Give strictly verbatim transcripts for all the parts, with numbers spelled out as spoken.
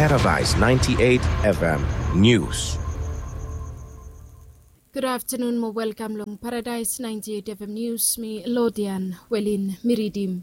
Paradise ninety-eight F M News. Gud aftenun mo welkam long Paradise ninety-eight F M News, mi Lodian Welin mi ridim.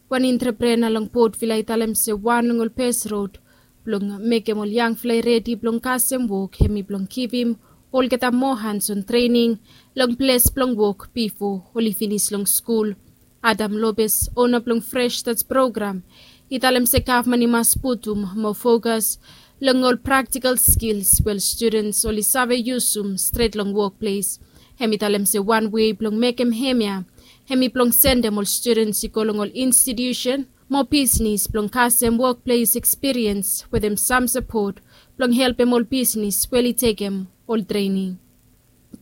Wan entreprena long Port Vila i talem se wan long ol bes rod blong mekem ol yangfala i redi blong kasem wok hemi blong givim olgeta moa hands-on trening long ples blong wok bifo oli finis long skul. Adam Lopez, ona blong Fresh Start program, i talem se gavman i mas putum moa fokas long ol praktikal skils we ol studens oli save yusum stret long wokples. Hemi talem se wan wei blong mekem hemia hemi blong sendem ol studens i go long ol institusen mo bisnis blong kasem wokples ekspiriens wetem sam sapot blong helpem ol bisnis we oli tekem ol trening.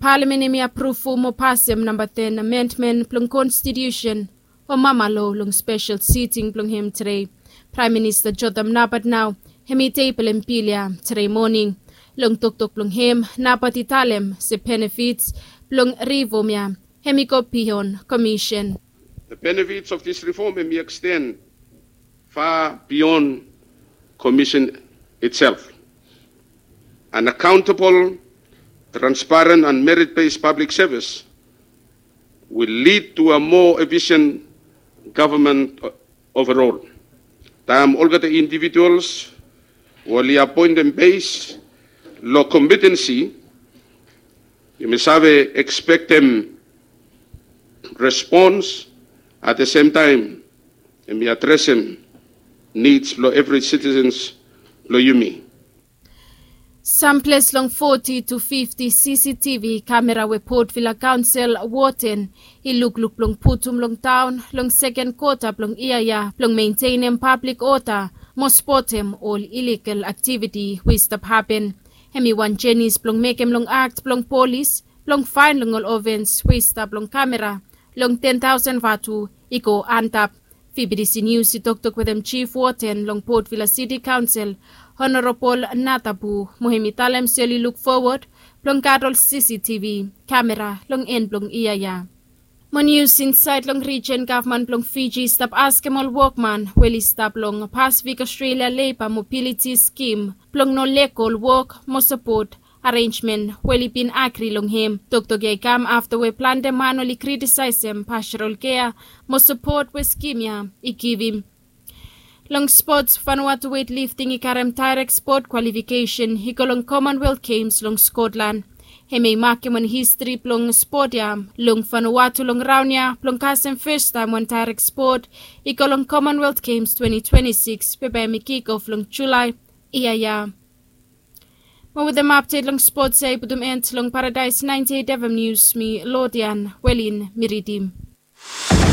Palamen hemi apruvum mo pasem namba ten amendmen blong konstitiusen o mama lo long spesel siting blong hem tede. Praem Minista Jotham Napat nao hemi tebelem bil ya tede moning. Long toktok blong hem, Napat i talem se benefits blong rifom ya hemi go bion komisen. The benefits of this reform hemi extend far beyond commission itself. An accountable, transparent and merit-based public service will lead to a more efficient government overall. Taem olgeta individuals we oli apoentem bes long kompetensi, yumi save ekspektem respons, at the same time yumi adresem nids blong evri sitisens blong yumi. Sam ples long foti tu fifti C C T V kamera we Port Vila Kaonsel woten i lukluk blong putum long taon long seken kwota blong yia ya blong mentenem pablik oda mo spotem ol iligal aktiviti we i stap hapen. Hemi wan jenis blong mekem long akt blong polis blong faen long ol ofens we i stap long kamera long ten taosen vatu i go antap. V B T C News i toktok wetem Jif Woten long Port Vila Siti Kaonsel, Honorabol Natabu, mo hemi talem se oli luk fowod blong gat ol C C T V kamera long en blong yia ya. Mo nius insaed long rijen, gavman blong Fiji i stap askem ol wokman we oli stap long Pasifik Ostrelia Leba Mobiliti Skim blong no lego ol wok mo sapot arenjmen we oli bin agri long hem. Toktok ya i kam afta we plante man oli kritisaesem pastoral kea mo sapot we skim ya i givim. Long spots, Vanuatu weightlifting i karem daerek spot kwalifikesen i go long Commonwealth Games long Scotland. Hemia i makem wan histri blong spot ya long Vanuatu long raon ya blong kasem fastaem wan daerek spot i go long Commonwealth Games twenty twenty-six we bae hemi kikof long Julae yia ya. Mo wetem apdet long spots ya i putum en long Paradise ninety-eight F M News, mi Lodian Welin mi ridim.